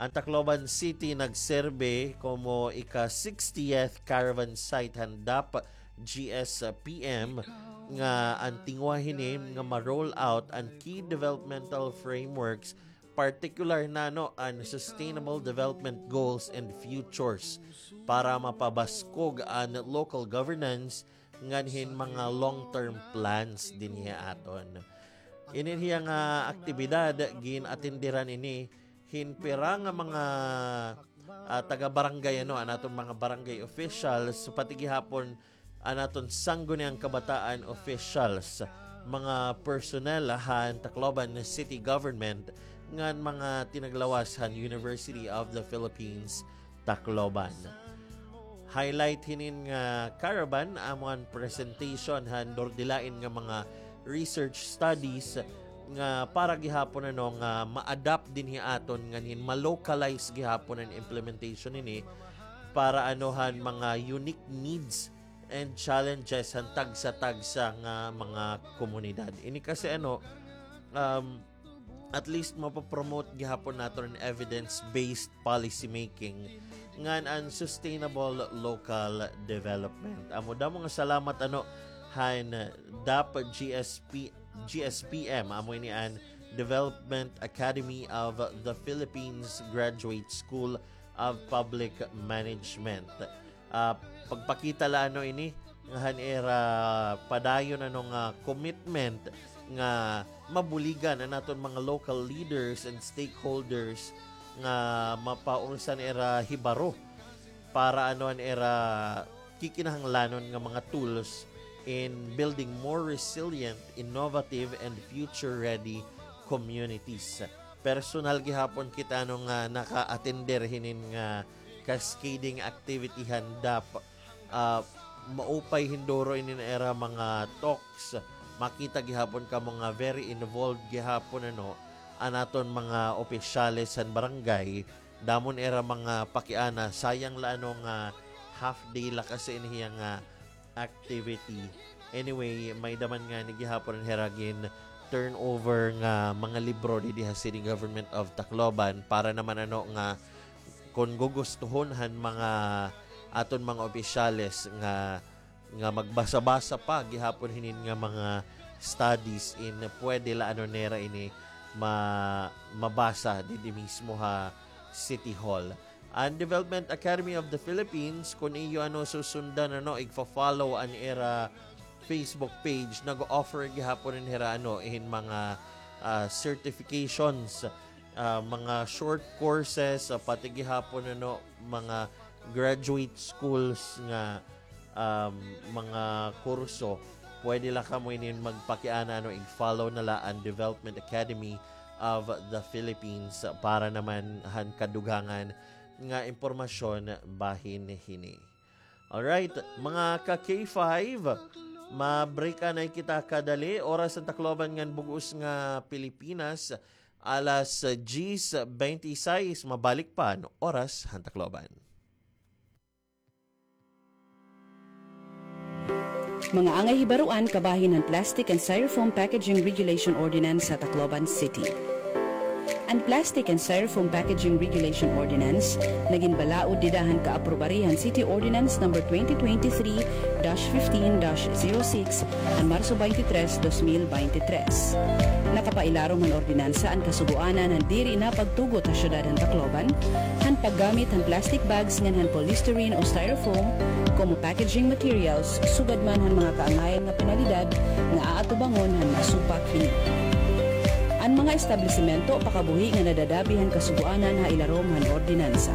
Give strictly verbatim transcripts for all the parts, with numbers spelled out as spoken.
An Tacloban City nagserbe komo ika-sixtieth caravan site han DAP G S P M nga an tinguha hini nga ma-roll out an key developmental frameworks, partikular na, no, an sustainable development goals and futures para mapabaskog an local governance ngan hin mga long-term plans dinhi ha aton. Ini hiya nga aktibidad, gin-atenderan ini hin pira nga mga, ah, taga-barangay, ano, an aton mga barangay officials, pati gihapon an aton Sangguniang Kabataan officials, mga personnel han Tacloban City Government, ngan mga tinaglawas han University of the Philippines Tacloban. Highlight hinin nga caravan amo an presentation han durdilain nga mga research studies nga para gihapon, ano, nga ma-adapt dinhi aton ngan hin ma-localize gihapon an implementation hini para, ano, han mga unique needs and challenges han tagsa-tagsa nga mga komunidad. Ini kasi, ano, um, at least mapopromote gihapon naton an evidence-based policy making ngan an sustainable local development. Amo, damo nga salamat, ano, han DAP G S P, G S P M, amo ini an Development Academy of the Philippines Graduate School of Public Management. Ah, pagpakita la, ano, ini nga han ira padayon, ano, nga commitment nga mabuligan an aton mga local leaders and stakeholders nga mapaursan ira hibaro para, ano, an ira kikinahanglanon nga mga tools in building more resilient, innovative, and future-ready communities. Personal gihapon kita, ano, nga naka-attender hinin nga cascading activity han DAP. Ah, maupay hinduro ini an ira mga talks. Makita gihapon kamo nga very involved gihapon, ano, an aton mga opisyales han barangay. Damo an ira mga pakiana, sayang la, ano, nga half day la kasi ini hiya nga activity. Anyway, may-ada man ngani gihapon an hira gin-turnover nga mga libro didi ha City Government of Tacloban para naman, ano, nga kon gugustuhon han mga aton mga opisyales nga, nga magbasa-basa pa gihapon hinin nga mga studies, in pwede la, ano, nira ini ma-, mabasa didi mismo ha City Hall. An Development Academy of the Philippines, kon iyo, ano, susundan, ano, igfa-follow an ira Facebook page, nag-o-offer gihapon an hira, ano, hin mga, ah, certifications, ah, mga short courses, ah, pati gihapon, ano, mga graduate schools nga, um, mga kurso. Pwede la kamo ini magpakiana, ano, i-follow na la an Development Academy of the Philippines para naman han kadugangan nga impormasyon bahin hini. Alright, mga ka-K five, ma-break anay kita kadali. Oras han Tacloban ngan bug-os nga Pilipinas, alas diyes beintisais, mabalik pa an Oras han Tacloban. Mga angay hibaruan kabahin han Plastic and Styrofoam Packaging Regulation Ordinance sa Tacloban City. An Plastic and Styrofoam Packaging Regulation Ordinance nagin balaod dida han kaaprobari han City Ordinance Number twenty twenty-three dash fifteen dash zero six han Marso twenty-three, dos mil beintitrés. Nakapailarom han ordinansa an kasugoanan han diri na pagtugot ha syudad han Tacloban han paggamit han plastic bags ngan han polystyrene o styrofoam komo packaging materials, sugad man han mga kaangayan nga penalidad nga aatubangon han masupak hini. An mga establisimento o pakabuhi nga nadadabi han kasugoanan ha ilarom han ordinansa: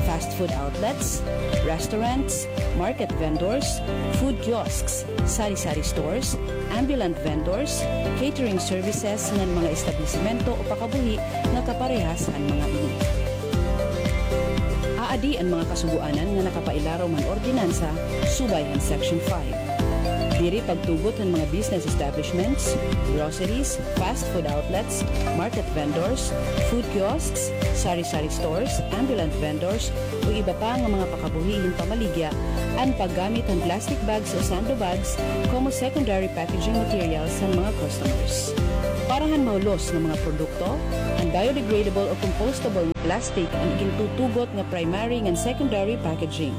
fast food outlets, restaurants, market vendors, food kiosks, sari-sari stores, ambulant vendors, catering services ngan mga establisimento o pakabuhi nga kaparehas han mga ini. Aadi an mga kasugoanan nga nakapailarom han ordinansa subay han Section five. Diri pagtugot han mga business establishments, groceries, fast food outlets, market vendors, food kiosks, sari-sari stores, ambulant vendors, o iba pa nga mga pakabuhi hin pamaligya an paggamit han plastic bags o sando bags komo secondary packaging materials han mga customers. Para han mahulos nga mga produkto, an biodegradable o compostable nga plastic an igintutugot nga primary ngan secondary packaging.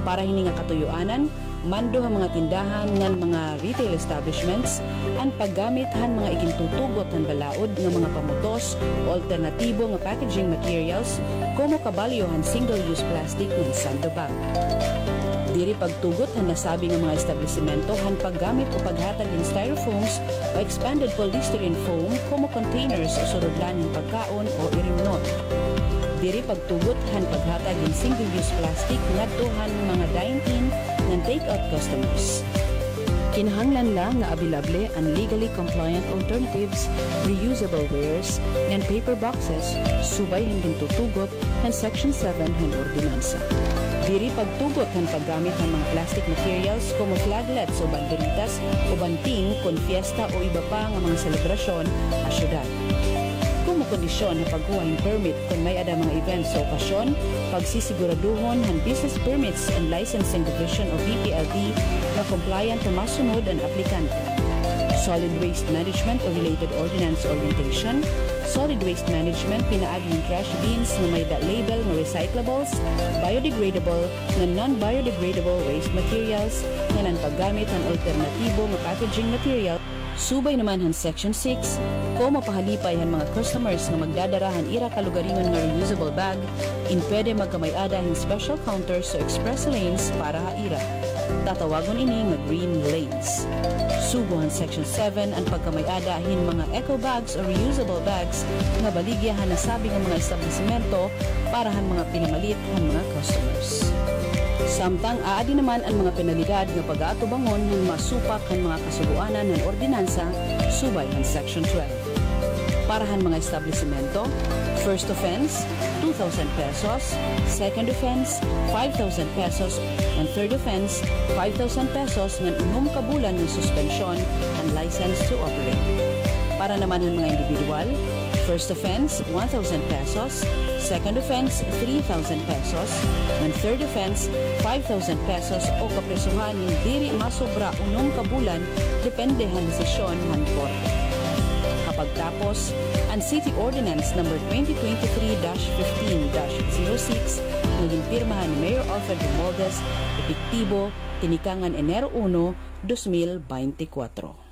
Para hini nga katuyoanan, mando ha mga tindahan ngan mga retail establishments an paggamit han mga igintutugot han balaod nga mga pamutos o alternatibo nga packaging materials komo kabalyo han single-use plastic ngan sando bag. Diri pagtugot han nasabi nga mga establisimento han paggamit o paghatag hin styrofoams o expanded polystyrene foam komo containers o surudlan hin pagkaon o irimnon. Diri pagtugot han paghatag hin single-use plastic ngadto han mga dine-in ngan take-out customers. Kinahanglan la nga abilable an legally compliant alternatives, reusable wares, ngan paper boxes, subay han gintutugot han Section seven han ordinansa. Diri pagtugot han paggamit han mga plastic materials komo flaglets o banderitas o banting kon fiesta o iba pa nga mga selebrasyon ha syudad. Komo kondisyon ha pagkuha hin permit kon may-ada mga events o okasyon, pagsisiguraduhon han Business Permits and Licensing Division o B P L D nga compliant nga masunod an aplikante. Solid waste management o related ordinance orientation, solid waste management pinaagi hin trash bins nga may-ada label nga recyclables, biodegradable, ngan non-biodegradable waste materials, ngan an paggamit han alternatibo nga packaging material. Subay naman han Section six, komo pahalipay han mga customers nga magdadara han ira kalugaringon nga reusable bag, in pwede magkamay-ada hin special counters o express lanes para ha ira. Tatawagon ini nga green lanes. Sugo han Section seven an pagkamay-ada hin mga eco bags o reusable bags nga baligya han nasabi nga mga establisimento para han mga pinamalit han mga customers. Samtang aadi naman an mga penalidad nga pag-aatubangon han masupak han mga kasugoanan han ordinansa subay han Section twelve. Para han mga establisimento, first offense, two thousand pesos, second offense, five thousand pesos, ngan third offense, five thousand pesos ngan unom ka bulan nga suspensyon an license to operate. Para naman han mga individual, first offense, one thousand pesos, second offense, three thousand pesos, ngan third offense, five thousand pesos o kaprisohan hin diri masobra unom ka bulan, depende han desisyon han korte. Ha pagtapos, an City Ordinance Number twenty twenty-three dash fifteen dash zero six nga ginpirmahan ni Mayor Alfred Romualdez, epektibo tinikangan Enero uno, dos mil beintikwatro.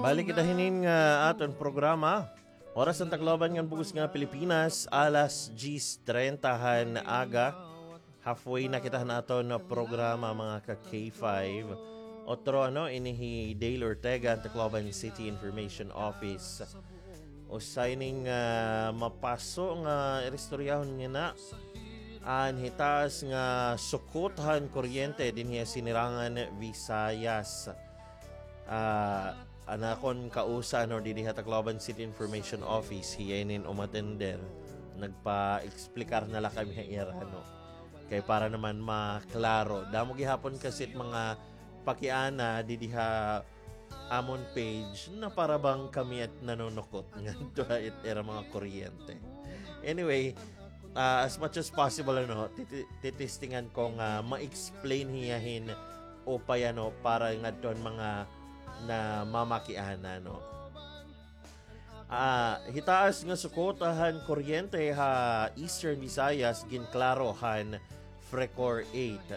Balik kita hinin nga aton programa. Oras han Tacloban ngan bug-os nga Pilipinas, alas diyes treinta han aga. Halfway na kita han aton programa, mga ka K five. Otro, ano, ini hi Dale Ortega, han Tacloban City Information Office. Usa ini nga mapaso nga iristoryahon nganhi an hitaas nga sukot han kuryente dinhi ha Sinirangan, Visayas. Ah, an akon kausa, no, didi ha Tacloban City Information Office, hiya inin umatender. Nagpa-explicar na la kami ha ira, no. Kay para naman maklaro. Damo gihapon kasi mga pakiana didi ha amon page na para bang kami it nanunukot ngadto ha it ira mga kuryente. Anyway, ah, as much as possible, ano, titi-, titistingan ko nga ma-explain hiya hin upay, ano, para ngadto han mga namamakiana, no. Ah, hitaas nga sukot han kuryente ha Eastern Visayas ginklaro han FRECOR eight.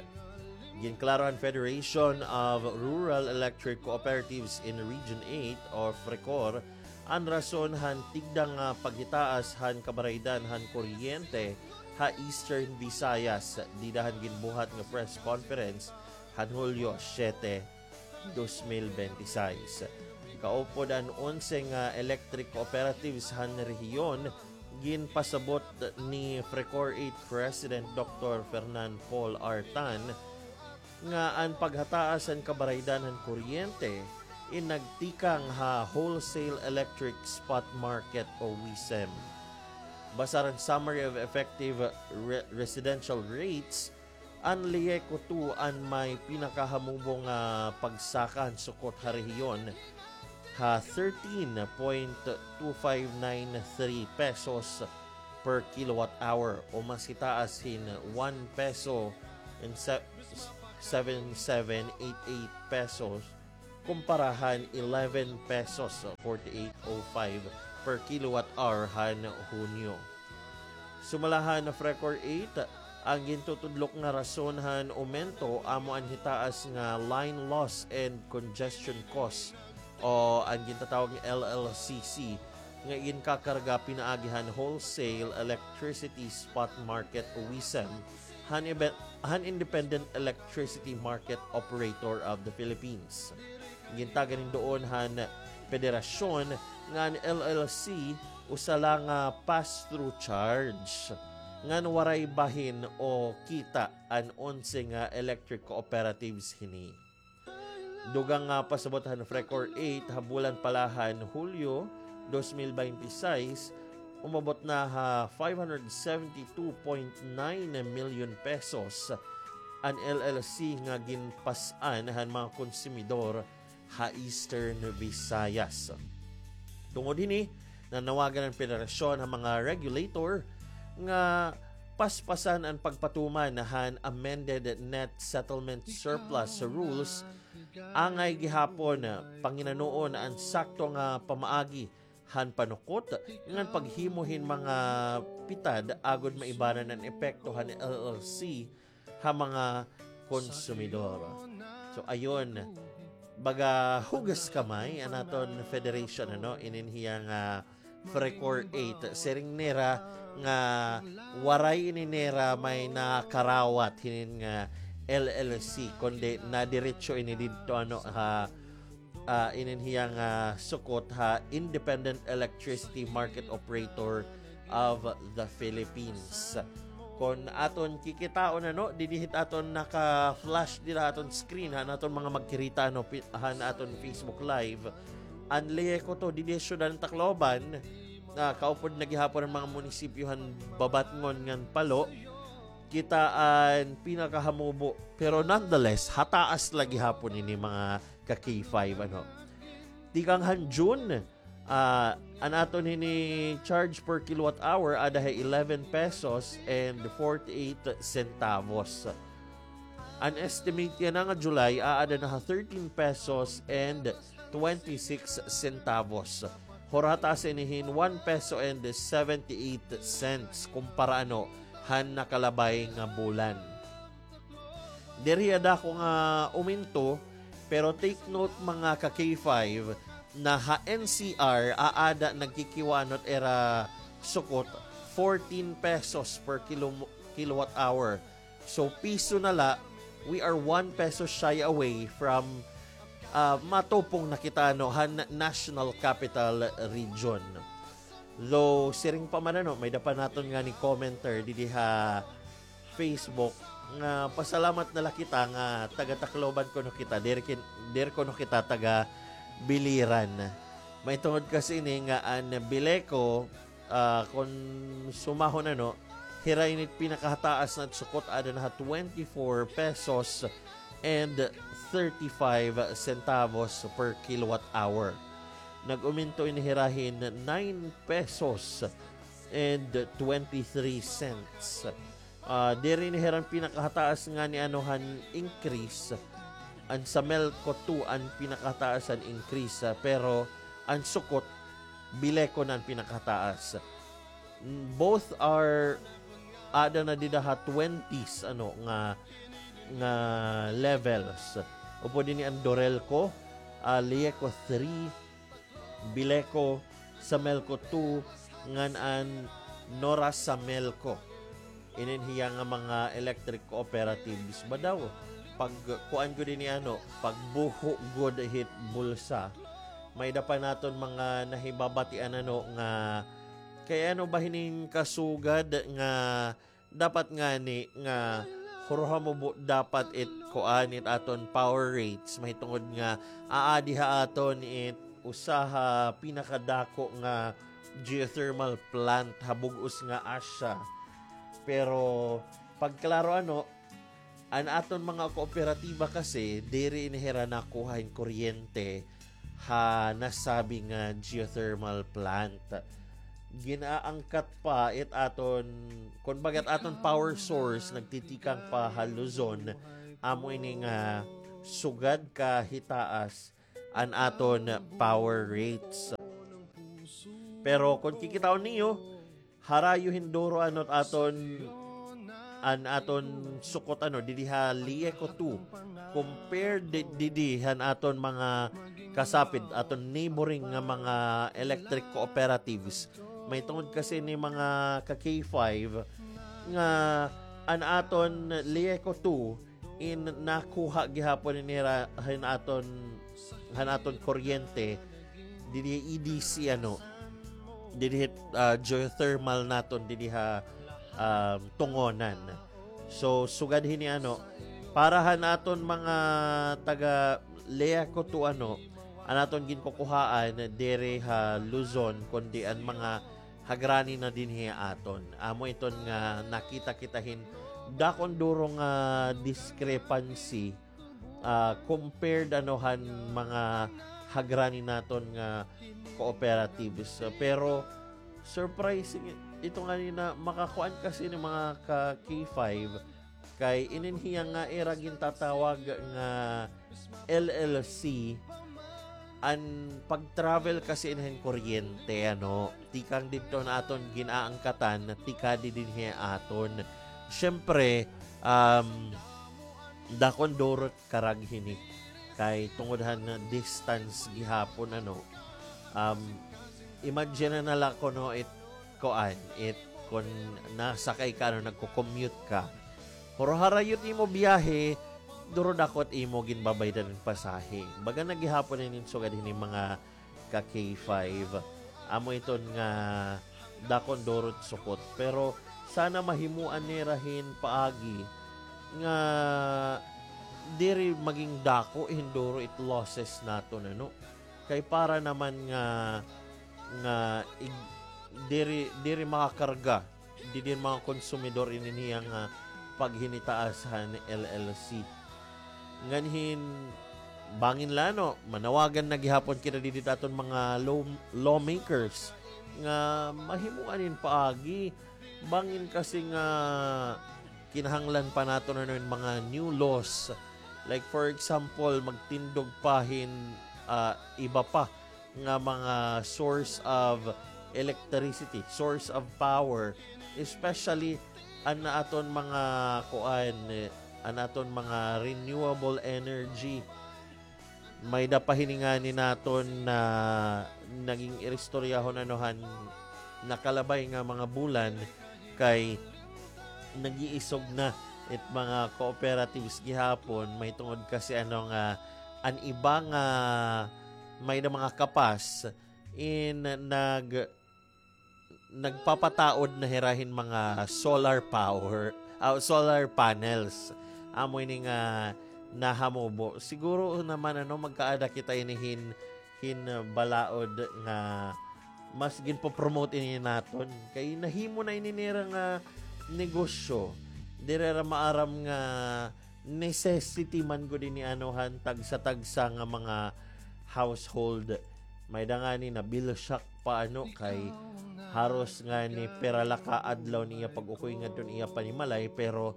Ginklaro han Federation of Rural Electric Cooperatives in Region eight o FRECOR an rason han tigda nga paghitaas han kabaraydan han kuryente ha Eastern Visayas dida han ginbuhat nga press conference han Hulyo siyete, dos mil benti sais. Kaupod an onse nga electric cooperatives han rehiyon, ginpasabot ni FRECOR eight President Doctor Fernan Paul R. Tan nga an paghataas han kabaraydan han kuryente in nagtikang ha wholesale electric spot market o WESM. Basar han Summary of Effective Re-, Residential Rates, an LEECO two an may pinakahamubo nga pagsaka han sukot ha rehiyon ha thirteen point two five nine three pesos per kilowatt hour o mas hitaas hin one peso and se-, seven seven eight eight pesos kumpara han eleven pesos, forty-eight oh five per kilowatt hour han Hunyo. Sumala han Frecor eight, an gintutudlok nga rason han omento amo an hitaas nga line loss and congestion cost o an gintatawag nga L L C C nga ginkakarga pinaagi han wholesale electricity spot market o WESM han ibe-, han Independent Electricity Market Operator of the Philippines. Gintagan hin duon han Federasyon nga an L L C usa la nga pass-through charge ngan waray bahin o kita an onse nga electric cooperatives hini. Dugang nga pasabot han Frecor eight ha bulan pa la han Hulyo dos mil baynte sais, umabot na ha five hundred seventy-two point nine million pesos an L L C nga ginpas-an han mga konsumidor ha Eastern Visayas. Tungod hini, nanawagan an federasyon ha mga regulator nga paspasan an pagpatuman han amended net settlement surplus rules, angay gihapon panginanuon an sakto nga pamaagi han panukot ngan paghimo hin mga pitad agod maibanan an epekto han L L C ha mga konsumidor. So, ayun, baga hugas kamay an aton federation, ano, inin hiya nga Frecor eight. Siring nira nga waray ini nira may nakarawat hinin nga L L C, kundi nadiretso ini didto, ano, ha ah, inin hiya nga sukot ha Independent Electricity Market Operator of the Philippines. Kon aton kikitaon, ano, didi hit aton naka-flash dida ha aton screen, han aton mga magkirita, ano, pi-, han aton Facebook Live. An Lieco to, didi ha syudad han Tacloban, ah, kaupod na gihapon an mga munisipyo han Babatngon ngan Palo. Kita an pinakahamubo. Pero nonetheless, hataas la gihapon ini mga ka-K five, ano. Tikang han June, ah, an aton hini charge per kilowatt hour, ada ha eleven pesos and forty-eight centavos. An estimate yana nga July, aada na ha thirteen pesos and twenty-six centavos. Hurata sa inihin one peso and seventy-eight cents kumpara ano han nakalabay nga bulan. Diri ada ko nga uminto, pero take note mga ka K five na ha N C R aada nagkikiwaanot ira sukot fourteen pesos per kilo, kilowatt hour. So, piso na la, we are one peso shy away from, ah, matupong na kita, ano, han National Capital Region. Though, siring pa man, ano, may-ada pa naton ngani commenter didi ha Facebook nga pasalamat na la kita nga taga Tacloban kuno kita, diri kin-, diri kuno kita taga Biliran. Mahitungod kasi ini nga an Bileco, ah, kon sumahon ano, hira ini it pinakahataas na sukot, ada na ha twenty-four pesos and thirty-five centavos per kilowatt hour. Nag-uminto ini hira hin nine pesos and twenty-three cents. Ah, diri ini hira an pinakahataas ngani ano han increase. An Samelco two an pinakahataas han increase, ah, pero an sukot, Bileco na an pinakahataas. Mm, both are, ada na dida ha twenties, ano, nga, nga levels. Upod ini an Dorelco, ah, Lieco three, Bileco, Samelco two, ngan an Norasamelco. Inin hiya nga mga electric cooperatives ba daw? Pag kuan gud ini ano, pagbuho gud hit bulsa. May-ada pa naton mga nahibabatian ano nga kay ano ba hining kasugad nga dapat ngani nga hurhamo dapat it kuan it aton power rates, mahitungod nga aadi ha aton it usa ha pinakadako nga geothermal plant ha bug-os nga Asia. Pero pagklaro ano, an aton mga kooperatiba kasi diri ini hira nakuha hin kuryente ha nasabi nga geothermal plant. Ginaangkat pa it aton, kon baga it aton power source nagtitikang pa ha Luzon, amo ini nga sugad ka hitaas an aton power rates. Pero kon kikitaon niyo, harayo hin duro ano it aton, an aton sukot ano, didi ha Lieco two, compared di-, didi han aton mga kasapid, aton neighboring nga mga electric cooperatives. Mahitungod kasi ni mga ka K five nga an aton Lieco two in nakuha gihapon nira han aton, han aton kuryente didi E D C, ano, didi, ah, geothermal naton didi ha, um, Tungonan. So, sugad hini, ano, para han aton mga taga Lieco two, ano, an aton ginkukuhaan diri ha Luzon, kundi an mga hagrani na dinhi aton. Amo iton nga nakita kita hin dakon duro nga discrepancy, ah, compared, ano, han mga hagrani naton nga cooperatives. Pero surprising ito nga ni na makakuan kasi ni mga ka K five kay inin hiya nga ira gintatawag nga L L C, an pag-travel kasi hin kuryente, ano, tikang didto han aton gin-aangkatan, tikadi dinhi ha aton. Siyempre, um, dakon duro it karag hini. Kay tungod han distance gihapon, ano, um, imagine na la kuno it kuan, it kon nasakay ka, ano, nagko-commute ka. Pero harayo it imo biyahe, duro dako it imo ginbabaydan hin pasahe. Baga na gihapon inin sugad hini mga ka K five. Amo iton nga dakon duro it sukot. Pero sana mahimoan nira hin paagi nga diri maging dako hin duro it losses naton, ano. Kay para naman nga, nga ig-, diri, diri makakarga didi hin mga konsumidor inin hiya nga paghinitaas han L L C. Ngan hin bangin la, no, manawagan na gihapon kita didi ha aton mga law-, lawmakers nga mahimoan hin paagi. Bangin kasi nga kinahanglan pa naton, ano, hin mga new laws. Like, for example, magtindog pa hin, ah, iba pa nga mga source of electricity, source of power, especially an aton mga kuan, eh, an aton mga renewable energy. May-ada pa hini ngani naton na naging iristoryahon, ano, han nakalabay nga mga bulan kay nag-iisog na it mga cooperatives gihapon, mahitungod kasi, ano, nga an iba nga may-ada mga kapas in nag-, nagpapataod na hira hin mga solar power, ah, solar panels. Amo ini nga nahamubo. Siguro naman, ano, magkaada kita ini hin, hin, ah, balaod nga mas ginpo-promote ini naton. Kay nahimo na ini nira nga negosyo. Diri ra maaram nga necessity man gud ini, ano, han tagsa-tagsa nga mga household. May-ada ngani na bill shock pa, ano, kay haros ngani pira la ka adlaw niya pag-ukoy ngadto niya panimalay, pero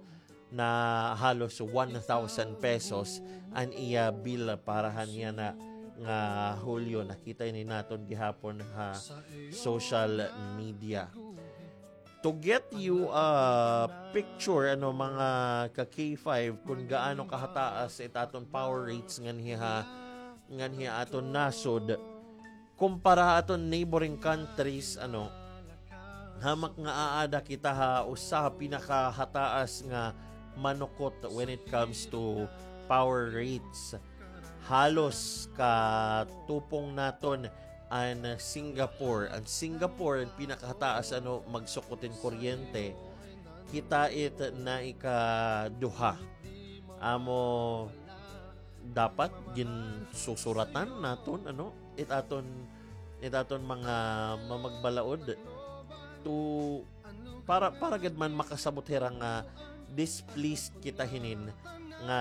na halos one thousand pesos an iya bill para han yana nga Hulyo. Nakita ini naton gihapon ha social media. To get you a picture, ano, mga ka K five, kun gaano kahataas it aton power rates nganhi ha, nganhi ha aton nasod, kumpara ha aton neighboring countries, ano, hamak nga aada kita ha usa ha pinakahataas nga manukot when it comes to power rates. Halos katupong naton an Singapore. An Singapore, an pinakahataas, ano, magsukot hin kuryente. Kita it naikaduha. Amo, dapat ginsusuratan naton, ano, it aton, it aton mga mamagbalaod to, para, para gad man makasabot hira nga displeased kita hinin nga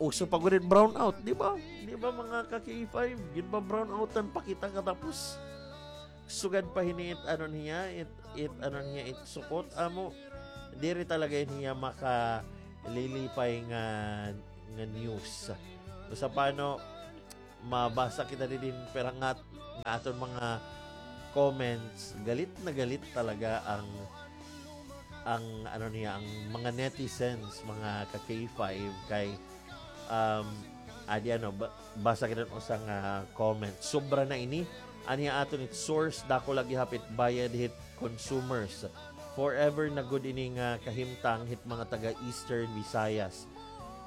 uso pa gud it brownout, di ba? Di ba, mga ka K five? Ginpa-brownoutan pa kita katapos sugad pa hini it, ano niya, it, it, ano niya, it sukot. Amo, diri talaga ini hiya makalilipay nga, nga news. Usa pa, ano, mabasa kita didi hin pira nga, nga aton mga comments. Galit na galit talaga ang, ang, ano niya, ang mga netizens, mga ka-K five, kay, um, adi, ano, ba-, basa kita hin usa nga comment. Sobra na ini. Ania aton it source, dako la gihap it bayad hit consumers. Forever na gud ini nga kahimtang hit mga taga Eastern Visayas.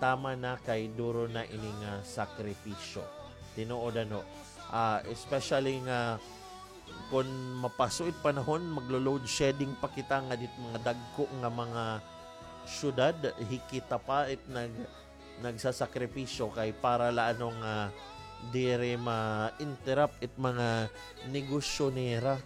Tama na kay duro na ini nga sakripisyo. Tinuod, ano, ah, especially nga kon mapaso it panahon, maglo-load shedding pa kita nga dit mga dagko nga mga syudad, hikita pa it nag-, nagsasakripisyo kay para la, ano, nga diri ma-interrupt it mga negosyo nira.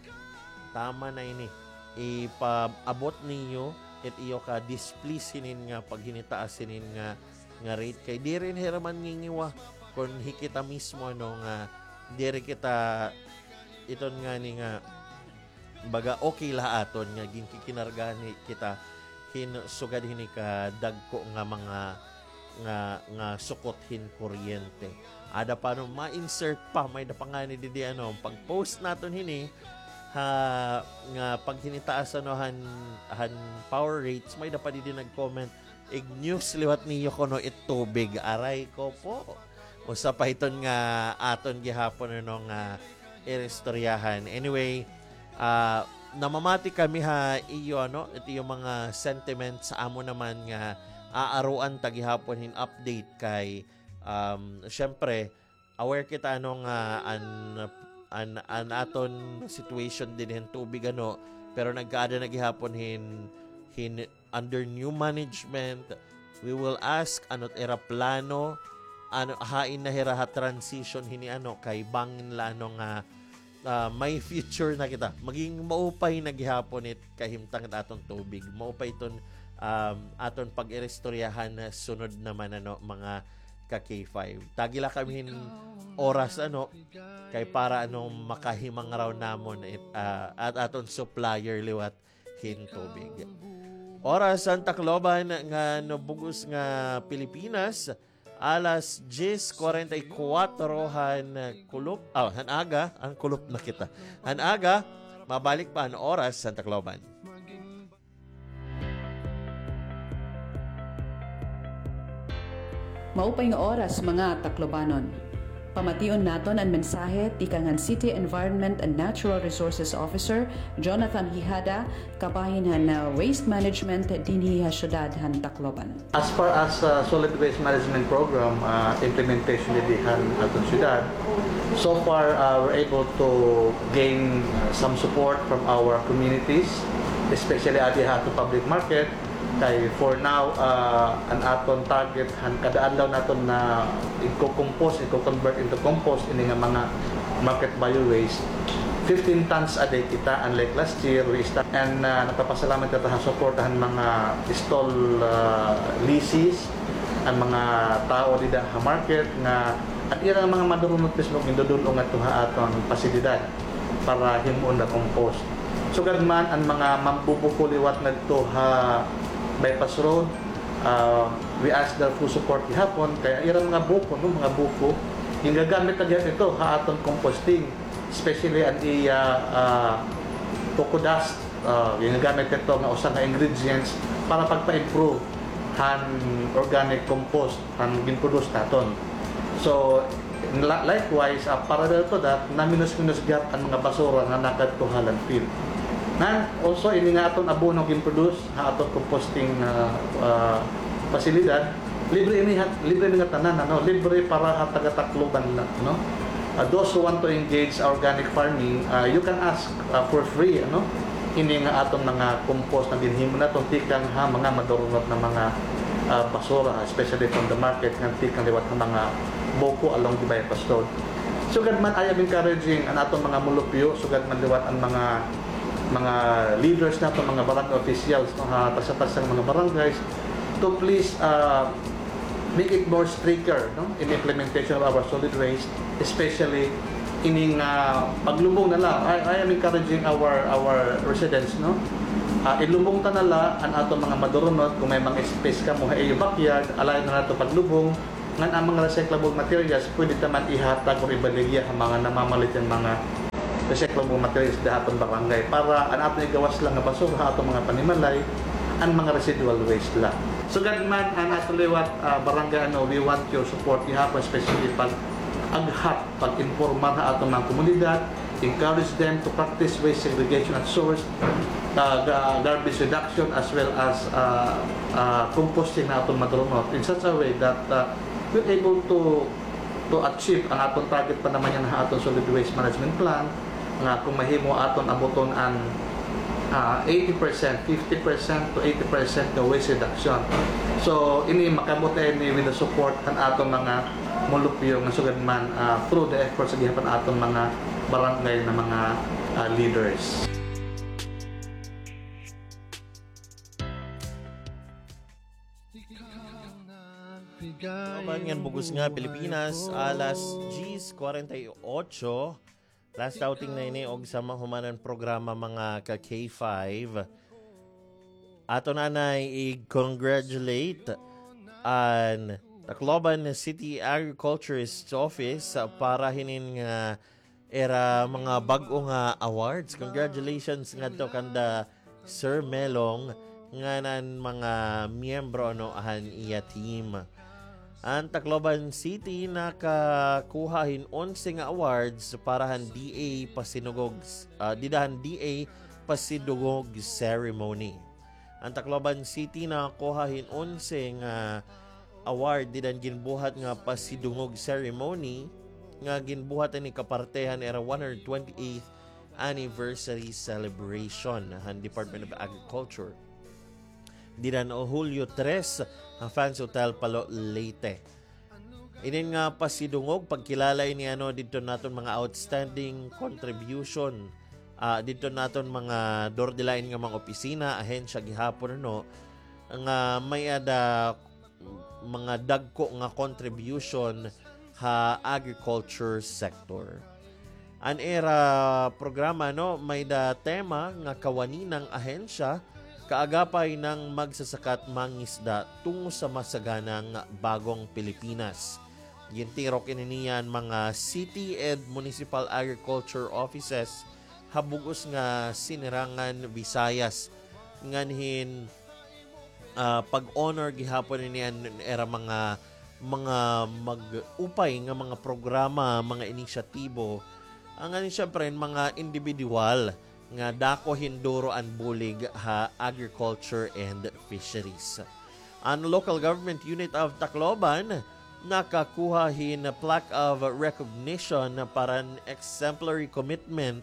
Tama na ini. Ipaabot niyo it iyo ka-displease hinin nga paghinitaas hinin nga, nga rate kay diri na hira man ngingiwa kon hikita mismo, ano, nga diri kita iton ngani nga baga okay la ha aton nga ginkikinargahan hi-, kita hin sugad hini kadagko nga mga nga, nga sukot hin kuryente. Ada pa, ano, ma-insert pa, may-ada pa ngani didi, ano, pag-post naton hini ha, nga paghinitaas, ano, han, han power rates, may-ada pa didi nag-comment, "Ig-news liwat niyo kuno it tubig." Aray ko po. Usa pa iton nga aton gihapon, ano, nga iristoryahan. Anyway, ah, namamati kami ha iyo, ano, it iyo mga sentiments sa amo naman nga aaruan ta gihapon hin update kay, um, syempre, aware kita, ano, nga an, an, an aton situation dinhi hin tubig, ano, pero nagkaada na gihapon hin, hin under new management. We will ask, ano it ira plano, ano, hain na hira ha transition hini, ano, kay bangin la, ano, nga, ah, may future na kita. Maging maupay na gihapon it kahimtang it aton tubig. Maupay iton, um, aton pag-iristoryahan na sunod naman, ano, mga ka-K five. Tagi la kami hin oras, ano, kay para, ano, makahimangaraw namon it, ah, at aton supplier liwat hin tubig. Oras han Tacloban ngan bug-os nga Pilipinas, alas diyes kuwarenta y kuwatro han kulop, ah, han aga, an kulop na kita. Han aga, mabalik pa an oras han Tacloban. Maupay nga oras, mga Taclobanon. Pamation naton an mensahe tikang han City Environment and Natural Resources Officer Jonathan Hijada kabahin han, ah, waste management dinhi ha syudad han Tacloban. As far as, ah, solid waste management program, ah, implementation didi han aton syudad, so far, ah, we're able to gain, ah, some support from our communities, especially adi ha aton public market. Kay for now, ah, an aton target han kada adlaw naton na igko-compose, igko-convert into compost ini nga mga market bio waste, fifteen tons a day kita, unlike last year, we start. And, ah, nagpapasalamat kita ha suporta han mga stall, ah, lessees, an mga tawo dida ha market nga an ira nga mga madurunot mismo gindudul-ong ngadto ha aton pasilidad para himoon na compost. Sugad man an mga mambubuko liwat ngadto ha Bypass Road, ah, we ask their full support gihapon, kay an ira mga buko, no, mga buko, gingagamit na gihapon ito ha aton composting, especially an iya, ah, coco dust, ah, gingagamit ito nga usa nga ingredients para pagpa-improve han organic compost an gin-produce naton. So, la-, likewise, ah, parallel to that, naminos-minos gihap an mga basura nga nakadto ha landfill. Ngan, also, ini nga aton abono gin-produce ha aton composting, ah, ah, pasilidad, libre ini ha, libre ini nga tanan, ano, libre para ha taga-Tacloban la, no? Ah, those who want to engage organic farming, ah, you can ask, ah, for free, ano, ini nga aton mga compost nga ginhimo naton tikang ha mga madurunot na mga, ah, basura, especially from the market nga tikang liwat ha mga buko along the Bypass Road. Sugad man, I am encouraging an aton mga mulupyo, sugad man liwat an mga, mga leaders naton, mga barangay officials, no, ha tagsa-tagsa nga mga barangays, to please, ah, make it more stricter, no, in implementation of our solid waste, especially ining, ah, paglubong na la. I, I am encouraging our, our residents, no, ah, ilubong ta na la an aton mga madurunot. Kon may mga space kamo ha iyo backyard, allow na nato paglubong. Ngan an mga recyclable materials, pwede ta man ihatag or ibaligya ha mga namamalit hin mga recyclable materials dida ha aton barangay para an aton igawas la nga basura ha aton mga panimalay, an mga residual waste la. Sugad man an aton liwat, ah, barangay, ano, we want your support gihapon, especially pag-aghat, pag-impormar ha aton mga komunidad, encourage them to practice waste segregation at source, ah, ga-, garbage reduction, as well as, ah, ah, composting na aton madurunot in such a way that, ah, we're able to, to achieve an aton target pa naman yana ha aton solid waste management plan, nga kung mahimo aton abuton an, ah, eighty percent, fifty percent to eighty percent nga waste reduction. So, ini makaabot ini with the support han aton mga molupyo nga sugad man, ah, through the efforts gihapon aton mga barangay na mga, ah, leaders. Tacloban ngan bug-os nga Pilipinas, alas diyes kwarenta y ocho. Last outing na ini og sama human an programa, mga ka-K five. Aton anay i-congratulate an Tacloban City Agriculturist Office para hinin nga ira mga bag-o nga awards. Congratulations ngadto kanda Sir Melong ngan an mga miyembro, ano, han iya team. An Tacloban City nakakuha hin onse nga awards para han D A Pasidungog, ah, dida han D A Pasidungog ceremony. An Tacloban City nakakuha hin onse nga award dida han ginbuhat nga pasidungog ceremony nga ginbuhat ini kaparte han ira one hundred twenty-eighth anniversary celebration han Department of Agriculture. Dida han Julio tres ha Fans Hotel, Palo, Leyte. Inin nga pasidungog, pagkilala ini, ano, didto naton mga outstanding contribution, ah, didto naton mga durdilain nga mga opisina, ahensya gihapon, ano, nga may-ada mga dagko nga contribution ha agriculture sector. An ira programa, no, may-da tema nga Kawani ng Ahensya, Kaagapay ng Magsasaka't Mangisda Tungo sa Masaganang Bagong Pilipinas. Gintirok ini niyan mga city and municipal agriculture offices ha bug-os nga sinirangan Visayas. Nganhin, ah, pag-honor gihapon ini an ira mga, mga mag-upay nga mga programa, mga inisyatibo. Nganhin, siyempre, mga individual nga dako hin duro an bulig ha agriculture and fisheries. An Local Government Unit of Tacloban nakakuha hin plaque of recognition para an exemplary commitment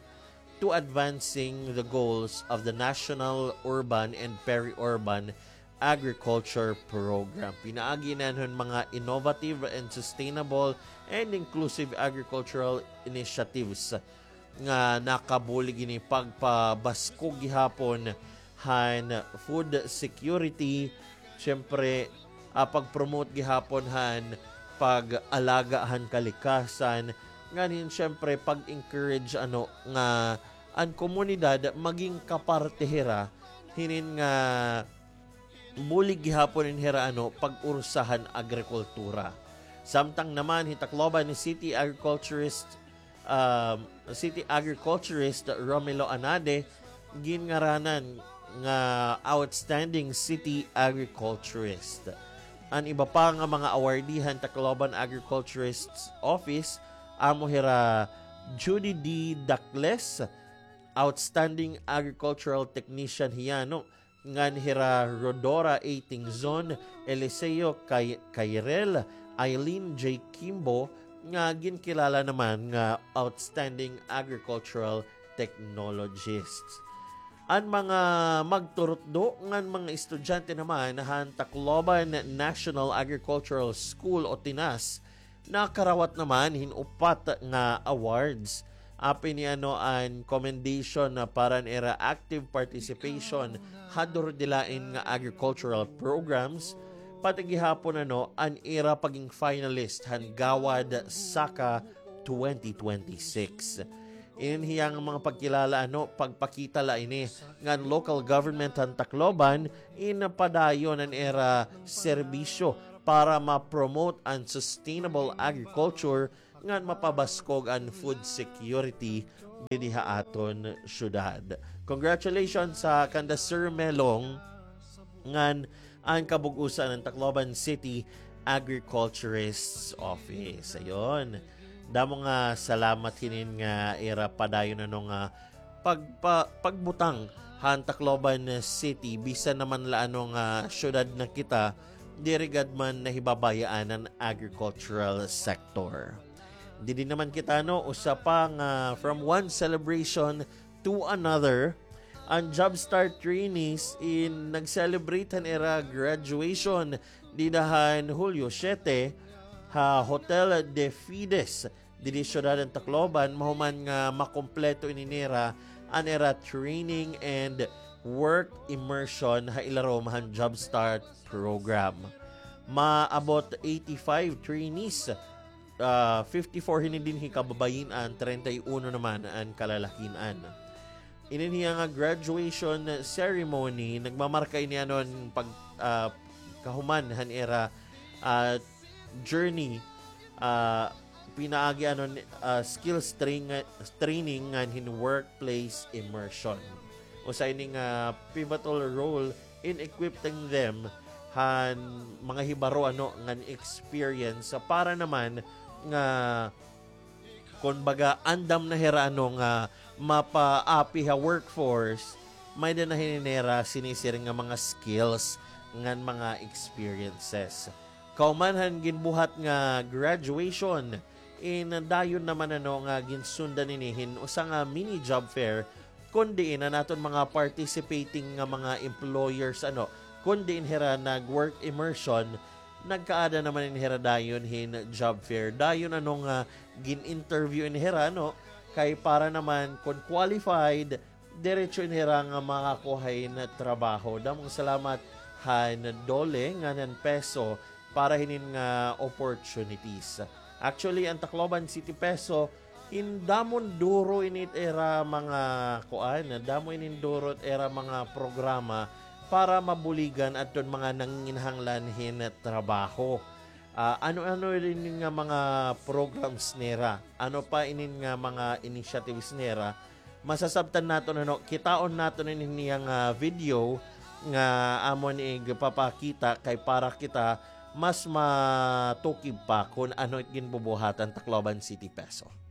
to advancing the goals of the National Urban and Peri-Urban Agriculture Program. Pinaagi ini han mga innovative and sustainable and inclusive agricultural initiatives nga nakabulig ini pagpabaskog gihapon han food security, siyempre, ah, pag-promote gihapon han pag-alaga han kalikasan, nganhin, siyempre, pag-encourage, ano, nga an komunidad maging kaparte hira hinin nga bulig gihapon hin hira, ano, pag-ursa han agrikultura. Samtang naman hi Tacloban City Agriculturist, um, City Agriculturist Romelo Anade, ginngaranan nga Outstanding City Agriculturist. An iba pa nga mga awardee han Tacloban Agriculturist Office, amo hira Judy D. Dacles, Outstanding Agricultural Technician hiya, no? Ngan hira Rodora A. Tingzon, Eliseo Cay-, Cairel, Eileen J. Kimbo, nga ginkilala naman nga Outstanding Agricultural Technologists. An mga magturutdo ngan mga estudyante naman han Tacloban National Agricultural School o TNAS nakarawat naman hin upat nga awards. Apin niyan, no, an commendation na para han ira active participation ha durdilain nga agricultural programs, pati gihapon, ano, an ira pagin finalist han Gawad SACA twenty twenty-six. Inin hiya nga mga pagkilala, ano, pagpakita la ini ngan local government han Tacloban in padayon an ira serbisyo para ma-promote an sustainable agriculture ngan mapabaskog an food security dinhi ha aton syudad. Congratulations sa kanda Sir Melong ngan an kabug-osan han Tacloban City Agriculturist's Office. Ayon. Damo nga salamat hinin nga ira padayon ano nga pagpa-, pagbutang han Tacloban City, bisan naman la ano nga syudad na kita, diri gad man nahibabayaan an agricultural sector. Didi naman kita, no, usa pa nga from one celebration to another, an Jobstart trainees in nag-celebrate han ira graduation dida han Hulyo siyete ha Hotel de Fides didi syudad han Tacloban, mahuman nga makumpleto ini nira an ira training and work immersion ha ilarom han Jobstart program. Maabot eighty-five trainees, ah, fifty-four hini dinhi kababayin-an, treinta y uno naman an kalalakin-an. Inin hiya nga graduation ceremony, nagmamarka ini anon pag, ah, kahuman han ira, ah, journey, ah, pinaagi anon, ah, skills train-, training ngan hin workplace immersion. Usa ini nga pivotal role in equipping them han mga hibaro ano ngan experience para naman nga, kumbaga, andam na hira ano nga mapaapi ha workforce, may-ada na hini nira sinisiring nga mga skills ngan mga experiences. Kahuman han ginbuhat nga graduation, in dayon naman ano nga ginsundan ini hin usa nga mini job fair, kun diin an aton mga participating nga mga employers ano, kun diin hira nag-work immersion, nagkaada naman in hira dayon hin job fair. Dayon ano nga gin-interview in hira, no? Kay para naman kun qualified, diretso in hira nga makakuha hin trabaho. Damo nga salamat han DOLE ngan han PESO para hinin nga opportunities. Actually, an Tacloban City PESO, in damo duro ini it ira mga kuan, damo ini duro it ira mga programa para mabuligan adton mga nanginginahanglan hin trabaho. Ah, ano-ano ini nga mga programs nira? Ano pa inin nga mga initiatives nira? Masasabtan naton ano, kitaon naton ini niya nga video nga amon igpapakita kay para kita mas matukib pa kun ano it ginbubuhat han Tacloban City PESO.